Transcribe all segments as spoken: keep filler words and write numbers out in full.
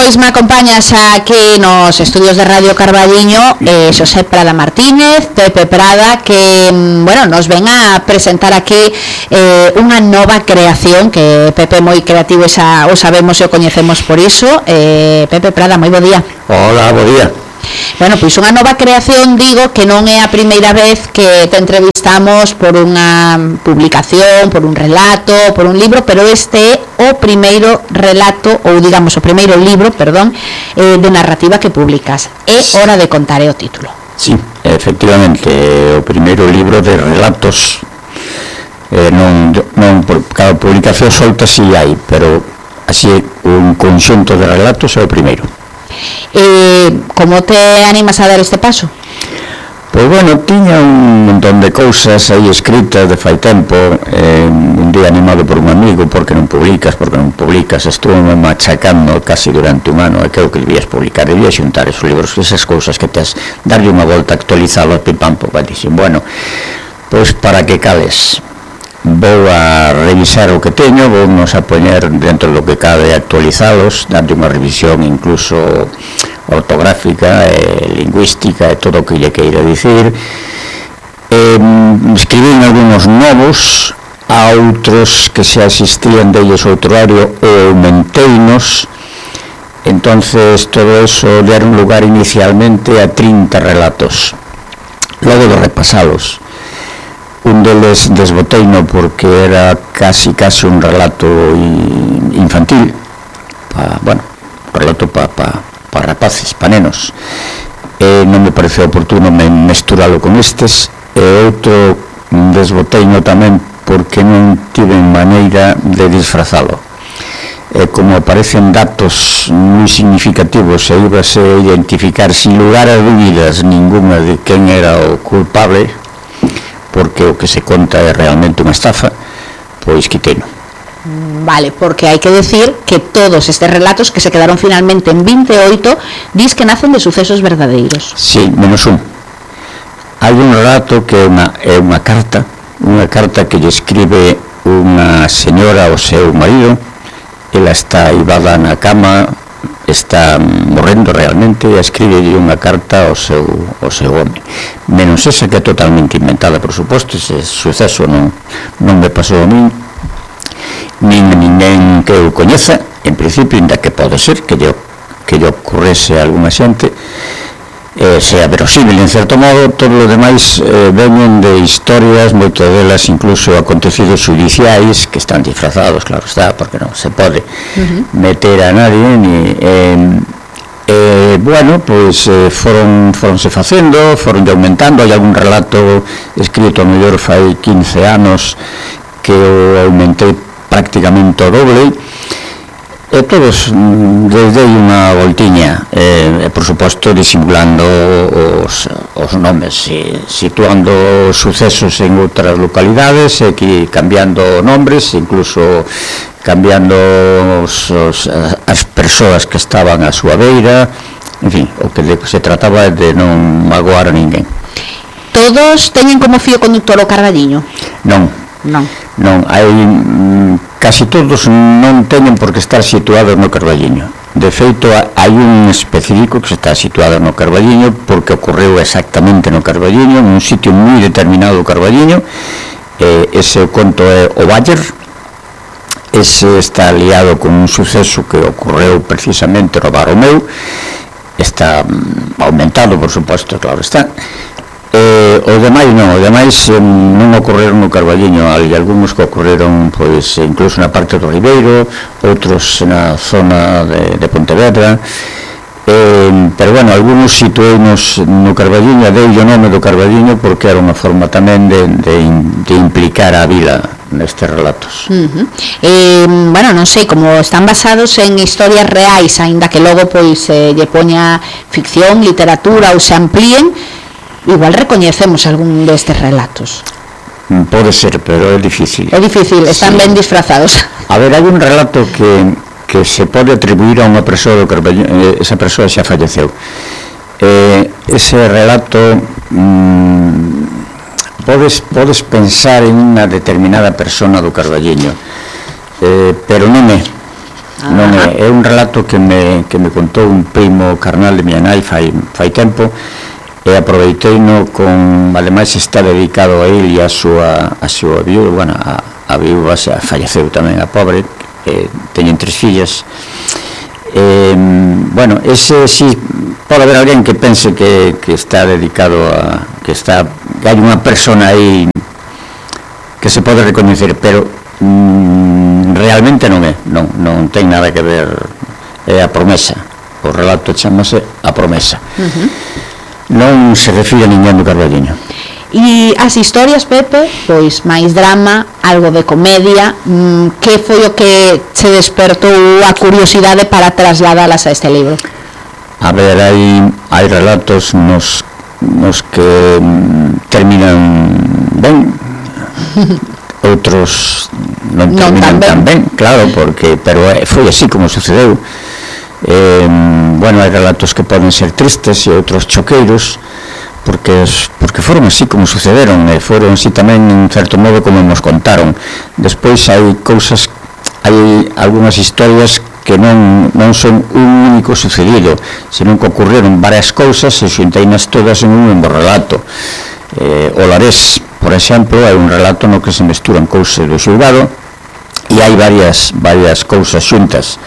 Pois me acompañas aquí nos estudios de Radio Carballiño eh, Xosé Prada Martínez, Pepe Prada, que, bueno, nos ven a presentar aquí eh, unha nova creación, que Pepe é moi creativo, esa, o sabemos e o coñecemos por iso. eh, Pepe Prada, moi bo día. Hola, bo día. Bueno, pois unha nova creación, digo, que non é a primeira vez que te entrevistamos por unha publicación, por un relato, por un libro, pero este é o primeiro relato, ou digamos o primeiro libro, perdón, eh, de narrativa que publicas. É hora de contar, é o título. Sí, efectivamente, o primeiro libro de relatos. eh, non, non por cada publicación solta si hai, pero así un conxunto de relatos é o primeiro. Eh, como te animas a dar este paso? Pois bueno, tiña un montón de cousas aí escritas de fai tempo. eh, un día animado por un amigo: porque non publicas, porque non publicas, estuve machacando casi durante un ano, e creo que debías publicar, debías xuntar esos libros, esas cousas que tes, darlle unha volta, actualizalos, pim pam pum, dixen, bueno, pois para que cales, vou a revisar o que teño, vou nos a poñer dentro do que cabe, actualizalos, darlle unha revisión incluso ortográfica, e lingüística, e todo o que lle queira dicir. eh, escribín algúns novos, a outros que xa existían deles outro horario, ou aumenteinos. Entonces todo eso deron lugar inicialmente a trinta relatos. Logo de repasalos, un deles desboteino porque era casi casi un relato infantil, pa, bueno, un relato para pa, pa rapaces, pa nenos. E non me pareceu oportuno me mesturalo con estes, e outro desboteino tamén porque non tiven maneira de disfrazalo. E como aparecen datos moi significativos e íbase a identificar sin lugar a dúbidas ninguna de quen era o culpable, porque o que se conta é realmente unha estafa, pois quiteno. Vale, porque hai que decir que todos estes relatos, que se quedaron finalmente en vinte e oito, dis que nacen de sucesos verdadeiros. Sí, menos un. Hai un relato que é unha, é unha carta, unha carta que lle escribe unha señora ao seu marido. Ela está ibada na cama, está morrendo realmente, e escribe unha carta ao seu, ao seu home. Menos esa, que é totalmente inventada, por suposto. Ese suceso non, non me pasou a min, nin ninguén que eu coñeza, en principio, ainda que pode ser que lle, que lle ocorrese a alguna xente, eh, sea verosímil en certo modo. Todo o demais eh, venen de historias, moitas delas incluso acontecidos judiciais, que están disfrazados, claro está, porque non se pode uh-huh. meter a nadie, ni... Eh, eh, bueno, pois eh, foron foronse facendo, foron aumentando. Hai algún relato escrito a mellor fai quince anos que o aumentei prácticamente o doble. E todos desde unha voltiña, e, por suposto disimulando os, os nomes, e, situando sucesos en outras localidades, e que cambiando nombres, incluso cambiando os, os, as persoas que estaban á súa beira. En fin, o que se trataba de non magoar a ninguén. Todos teñen como fío conductor o Carballiño? Non. Non. Non, hai casi todos non teñen por que estar situados no Carballiño. De feito, hai un específico que está situado no Carballiño porque ocorreu exactamente no Carballiño, en un sitio moi determinado do Carballiño. Eh, ese conto é o Baller. Ese está liado con un suceso que ocorreu precisamente no Baromeu. Está mm, aumentado, por suposto, claro está. Eh, o demais non, o demais eh, non ocorreron no Carballiño. Hai algúns que ocorreron pois incluso na parte do Ribeiro, outros na zona de, de Pontevedra, eh, pero bueno, algúns situeinos no Carballiño. Dei o nome do Carballiño porque era unha forma tamén de, de, de implicar a vila nestes relatos. Uh-huh. eh, bueno, non sei, como están basados en historias reais, aínda que logo pois eh, lle poña ficción, literatura ou se amplíen, igual recoñecemos algún destes relatos. Pode ser, pero é difícil. É difícil, están sí. ben disfrazados. A ver, hai un relato que, que se pode atribuir a unha persoa do Carballiño, esa persoa xa falleceu. Eh, ese relato mmm, podes, podes pensar en unha determinada persona do Carballiño, eh, pero non é. non é, é un relato que me, que me contou un primo carnal de miña nai fai, fai tempo, e aproveiteino con, ademais está dedicado a ele e a súa, a súa viúva, bueno, a, a viúva xa falleceu tamén, a pobre, eh, teñen tres fillas. Eh, bueno, ese sí, pode haber alguén que pense que, que está dedicado a, que está, que hai unha persona aí que se pode recoñecer, pero mm, realmente non é, non, non ten nada que ver, é a promesa, o relato chamase A Promesa. Uh-huh. Non se refire a ninguén do Carballiño. E as historias, Pepe, pois máis drama, algo de comedia, mmm, que foi o que se despertou a curiosidade para trasladalas a este libro? A ver, hai, hai relatos nos, nos que mm, terminan ben, outros non terminan non tan ben, claro, porque, pero foi así como sucedeu. Eh, bueno, hai relatos que poden ser tristes e outros choqueiros, porque porque foron así como sucederon, e foron así tamén en certo modo como nos contaron. Despois hai cousas, hai algunhas historias que non, non son un único sucedido, senón que ocurreron varias cousas e xunteinas todas en un mesmo relato. Eh, o Larés, por exemplo, hai un relato no que se mesturan cousas do xulgado e hai varias, varias cousas xuntas.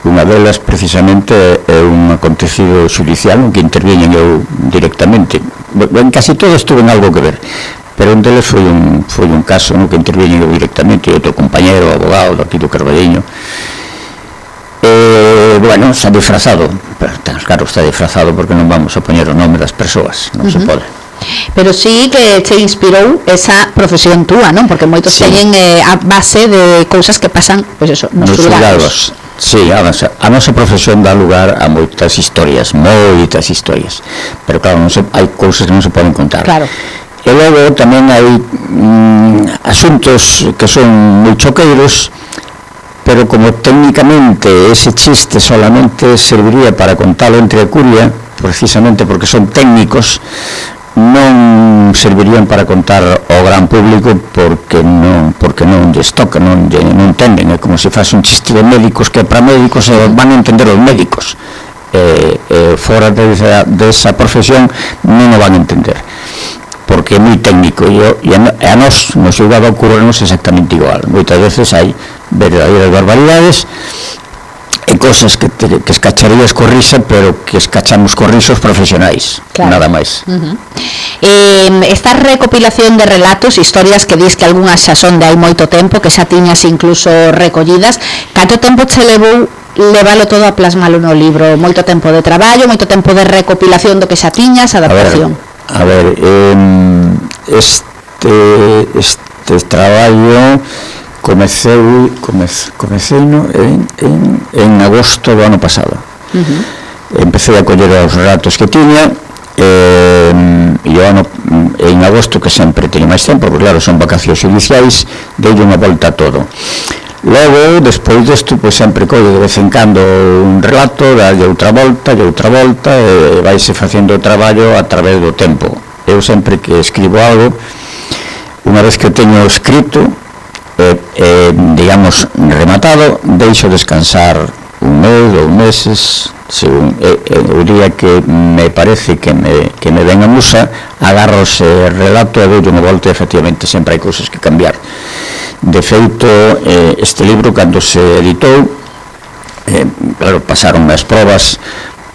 Unha delas precisamente é un acontecido xudicial en que interviñen eu directamente. En casi todos tuven algo que ver, pero un deles foi un, foi un caso no que interviñen eu directamente, e outro compañero, abogado daqui do Carballiño. Eh, bueno, está disfrazado, pero claro, está disfrazado porque non vamos a poñer o nome das persoas, non uh-huh. se pode. Pero sí que te inspirou esa profesión túa, non? Porque moitos sí. teñen eh, a base de cousas que pasan, pois pues eso, nos, nos xulgados. Sí, a nosa, a nosa profesión dá lugar a moitas historias, moitas historias, pero claro, non se, hai cousas que non se poden contar. Claro. E logo tamén hai mm, asuntos que son moi choqueiros, pero como técnicamente ese chiste solamente serviría para contalo entre a curia, precisamente porque son técnicos, non servirían para contar ao gran público porque non porque non lles toca, non, non entenden. É como se faz un chiste de médicos que para médicos e van a entender os médicos, e, e fora desa, desa profesión non o van a entender porque é moi técnico, e, e a, a nos no xulgado ocurrenos exactamente igual. Moitas veces hai verdadeiras barbaridades e cosas que, te, que escacharías co risa, pero que escachamos co risos profesionais, claro. Nada máis. Uh-huh. eh, esta recopilación de relatos, historias que dis que algunhas xa son de hai moito tempo, que xa tiñas incluso recollidas, canto tempo che levou leválo todo a plasmalo no libro? Moito tempo de traballo, moito tempo de recopilación do que xa tiñas, adaptación? A ver, a ver eh, este, este traballo comecei comece, comecei no, en, en, en agosto do ano pasado. Uh-huh. Empecé a coller os relatos que tiña, eh, e o ano, en agosto, que sempre teño máis tempo, porque claro, son vacacións xudiciais, dei unha volta a todo. Logo, despois desto, pois sempre collo de vez en cando un relato, dalle outra volta, e outra volta, e vaise facendo o traballo a través do tempo. Eu sempre que escribo algo, unha vez que teño escrito, Eh, eh, digamos, rematado, deixo descansar un mes, dous meses, según eh, eh, o día que me parece que me, que me ven a musa, agarro ese relato e doy unha volta, e efectivamente sempre hai cousas que cambiar. De feito, eh, este libro, cando se editou, eh, claro, pasaron as probas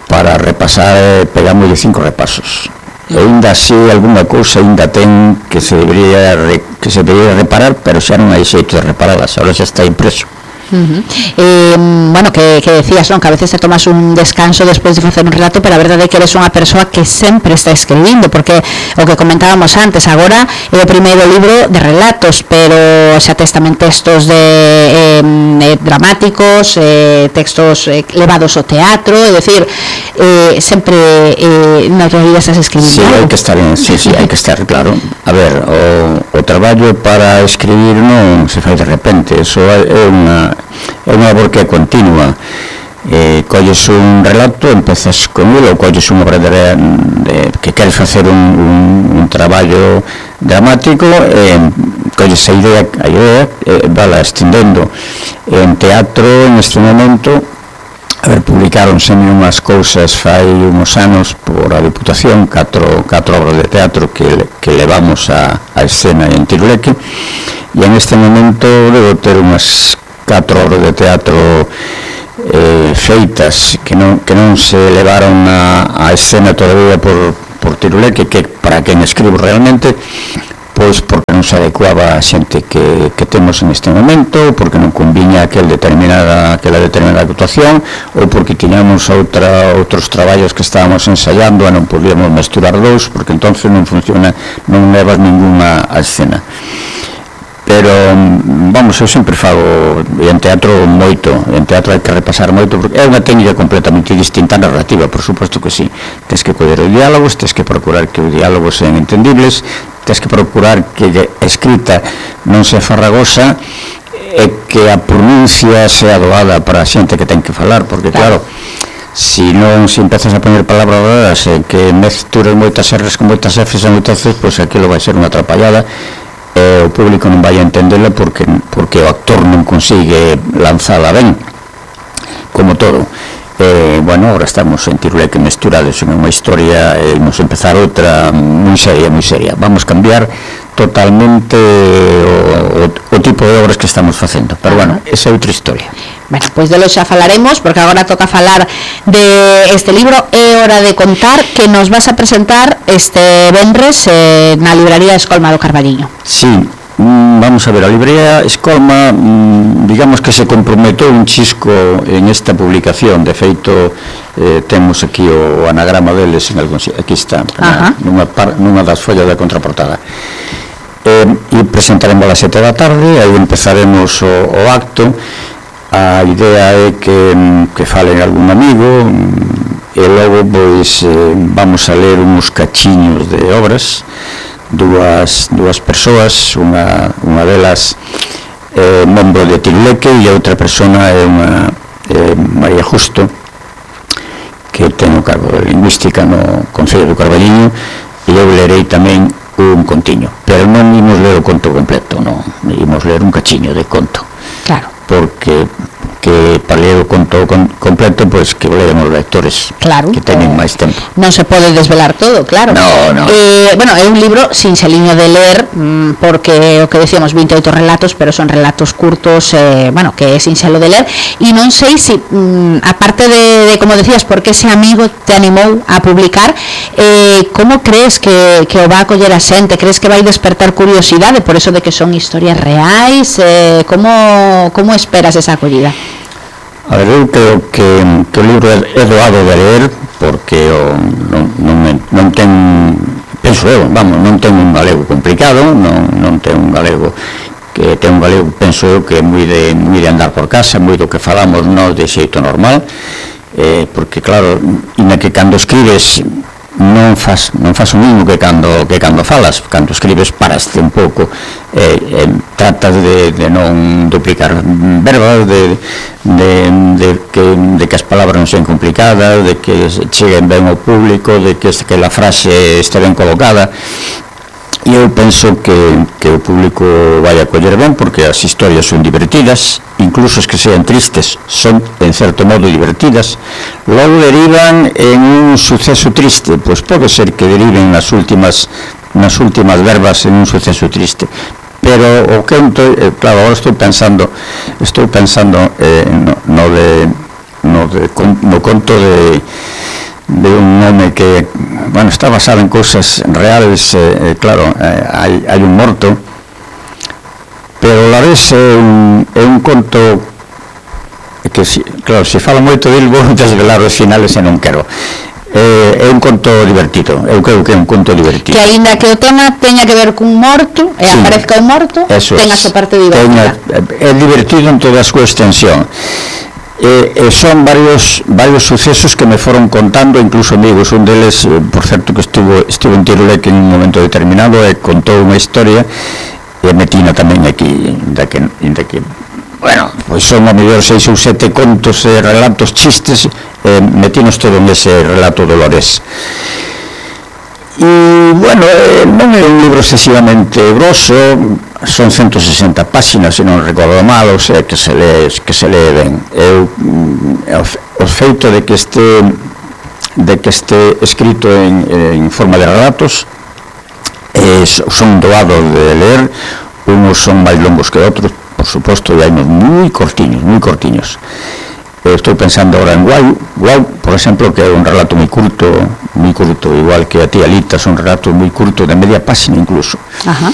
para repasar, eh, pegamos de cinco repasos. E ainda así alguna cousa ainda ten que se debería que se debería reparar, pero xa non hai xeito de reparalas, ahora xa está impreso. Uh-huh. eh, bueno, que, que decías, non? Que a veces te tomas un descanso despois de facer un relato, pero a verdade é que eres unha persoa que sempre está escribindo, porque o que comentábamos antes, agora é o primeiro libro de relatos, pero xa tes tamén textos de eh, eh, dramáticos, eh, textos eh, levados ao teatro, é dicir, eh, sempre eh, na realidad estás escribindo. Sí, hai que estar en, sí, sí, hai que estar, claro. A ver, o, o traballo para escribir non se fai de repente, eso é unha é unha labor que é continua. Eh, colles un relato, empezas con ele, ou colles unha obra de, de, que queres facer un, un, un traballo dramático, e colles a idea, a idea eh, vala extendendo en teatro en este momento. A ver, publicaronse unhas cousas fai uns anos por a Diputación, catro, catro obras de teatro que, que levamos a, a escena en Tiruleque, e en este momento debo ter unhas catro obras de teatro eh, feitas que non, que non se levaron a, a escena todavía por, por Tiruleque, que para quen escribo realmente, pois porque non se adecuaba a xente que, que temos en este momento, porque non conviña aquel determinada, aquela determinada actuación, ou porque tiñamos outra, outros traballos que estábamos ensaiando e non podíamos mesturar dous, porque entonces non funciona, non levas ninguna a escena. Pero, vamos, eu sempre fago en teatro moito, en teatro hai que repasar moito, porque é unha técnica completamente distinta a narrativa, por suposto que sí. Tens que coller os diálogos, tens que procurar que os diálogos sean entendibles, tens que procurar que a escrita non se farragosa e que a pronuncia sea doada para a xente que ten que falar, porque claro, si non se empezas a poner palabras raras e que mesturas moitas erres con moitas efes e moitas veces, pois aquilo vai ser unha atrapallada e o público non vai a entendela porque, porque o actor non consigue lanzala ben, como todo. Eh, bueno, ahora estamos en Tiruleque mesturados en unha historia e imos empezar outra moi seria, moi seria. Vamos cambiar totalmente o, o, o tipo de obras que estamos facendo, pero bueno, esa é outra historia. Bueno, pois de lo xa falaremos, porque agora toca falar de este libro É hora de contar, que nos vas a presentar este venres eh, na libraría Escolma do Carballiño. Sí, vamos a ver, a librería Escolma, digamos que se comprometou un chisco en esta publicación. De feito, eh, temos aquí o anagrama deles en algún, aquí está, na, nunha, par, nunha das follas da contraportada. Eh, e presentaremos a sete da tarde, aí empezaremos o, o acto. A idea é que, que falen algún amigo e logo pois eh, vamos a ler uns cachiños de obras. Dúas, dúas persoas, unha, unha delas é eh, membro de Tiruleque e a outra persona é unha eh, María Justo, que ten o cargo de lingüística no Concello do Carballiño, e eu lerei tamén un contiño, pero non imos ler o conto completo, non, imos ler un cachiño de conto. Claro. Porque que para ler o conto con, completo, pois que o lean os lectores, claro, que teñen máis tempo. Non se pode desvelar todo, claro. No, no. Eh, bueno, é un libro sinxeliño de ler, mmm, porque o que decíamos veinte e oito relatos, pero son relatos curtos, eh, bueno, que é sinxelo de ler, e non sei se, mmm, aparte de, de, como decías, porque ese amigo te animou a publicar, eh, como crees que, que o va a coller a xente? Crees que vai despertar curiosidade por eso de que son historias reais? Eh, como, como esperas esa acollida? A ver, eu creo que, que o libro é doado de ler, porque o, non, non, non ten, penso eu, vamos, non ten un galego complicado, non, non ten un galego que ten un galego, penso eu, que é moi de, moi de andar por casa, moi do que falamos nós de xeito normal, eh, porque claro, ina que cando escribes non faz, non faz o mismo que cando, que cando falas. Cando escribes paraste un pouco, eh, eh, tratas de, de non duplicar verbas, de, de, de, que, de que as palabras non sean complicadas, de que cheguen ben ao público, de que, que a frase este ben colocada. E eu penso que, que o público vai a coller ben, porque as historias son divertidas, incluso as que sean tristes son en certo modo divertidas. Logo derivan en un suceso triste, pois pode ser que deriven nas últimas nas últimas verbas en un suceso triste, pero o que eh, claro, agora estou pensando estou pensando eh, no, no de no, de, no conto de de un home que, bueno, está basado en cousas reales, eh, claro, eh, hai, hai un morto, pero a la vez é un, é un conto que, si, claro, se fala moito del, vou desvelar os finales e non quero. Eh, é un conto divertido, eu creo que é un conto divertido. Que aínda que o tema teña que ver cun morto, e sí, aparezca un morto, tenga a súa parte divertida. É divertido en toda a súa extensión. Eh, eh, son varios varios sucesos que me foron contando, incluso amigos. Un deles, eh, por certo, que estuvo estuvo en Tiruleque en un momento determinado e contou unha historia e metina tamén aquí de que, de que bueno, pois son a mellor seis ou sete contos e relatos, chistes, eh, metinos todo nese relato dolores. E, bueno, eh, non é un libro excesivamente grosso, son ciento sesenta páxinas, se non recordo mal, o sea, que se lee, que se lee ben. Eu, o feito de que este de que este escrito en, en forma de relatos eh, son doados de ler, unos son máis longos que outros, por suposto, e hai uns moi cortiños, moi cortiños. Estou pensando ahora en Guau, Guau, por exemplo, que é un relato moi curto, moi curto, igual que a tía Lita, son relatos moi curtos, de media página incluso. Ajá.